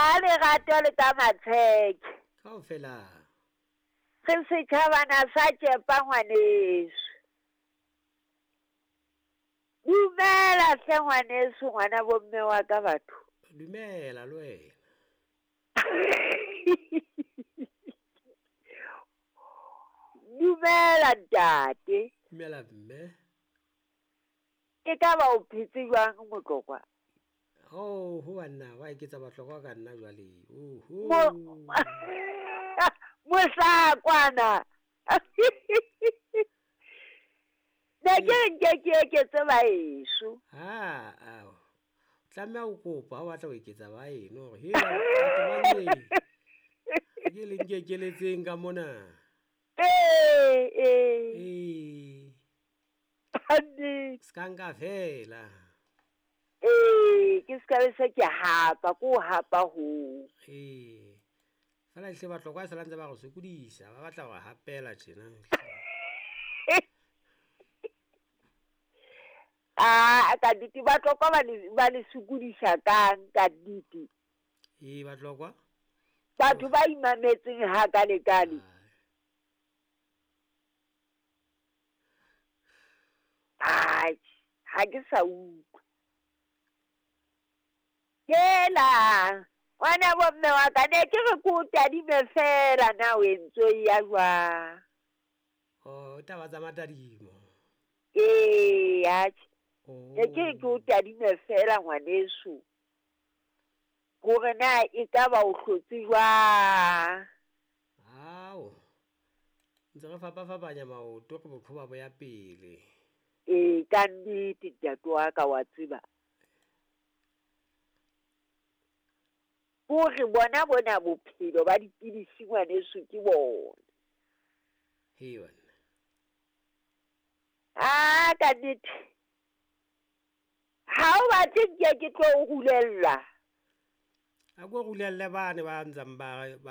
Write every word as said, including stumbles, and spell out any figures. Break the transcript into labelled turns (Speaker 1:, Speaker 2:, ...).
Speaker 1: Ka lerato le ka matsheke.
Speaker 2: Kaofela.
Speaker 1: Re setjhabana sa tšepa ngwaneso. Dumela hle ngwaneso, ngwana bomme wa ka batho.
Speaker 2: Dumela le wena.
Speaker 1: Dumela ntate.
Speaker 2: Dumela mme.
Speaker 1: E ka ba o phetse jwang Motlokwa?
Speaker 2: Oh, ho banna wa eketsa Batlokwa ka nna jwale. Oho.
Speaker 1: Mohlakwana. Ne ke re nke ke eketse baheso.
Speaker 2: Ha, ao. Tlameha o kopa ha o batla ho eketsa baheno hore he batho ba neng. Ke le nkekeletseng ka mona.
Speaker 1: Ee, ee.
Speaker 2: Ee.
Speaker 1: Kannete.
Speaker 2: Se ka nka fela.
Speaker 1: Ee, ke ska be se ke hapa, ko hapa ho.
Speaker 2: Ee. Fela ehlile Batlokwa se la ntse ba re sokodisa, ba batla ho re hapela tjena.
Speaker 1: Ah, ka nnete Batlokwa ba le ba le sokodisa kang ka nnete.
Speaker 2: Ee, Batlokwa.
Speaker 1: Batho ba imametseng hakalekale. Ai, ha ke sa utlwa. Hela, ngwana bomme wa ka ne ke re ke o tadime fela na o entse o ya jwang.
Speaker 2: Oh, taba tsa matadimo.
Speaker 1: Ee, atjhe.
Speaker 2: Oh.
Speaker 1: Ne ke re ke o tadime fela ngwaneso. Hore na ekaba o hlotse jwang.
Speaker 2: Ao. Ntse re fapafapanya maoto re boqhoba bo ya pele.
Speaker 1: Ee, ka nnete ntate wa ka wa tseba. Hore bona bona bophelo ba dipidisi ngwaneso ke bona.
Speaker 2: He banna.
Speaker 1: Ah, ka nnete. Ha o batle nke ke tlo o rulella.
Speaker 2: A ko rulelle bane ba ntsang ba ba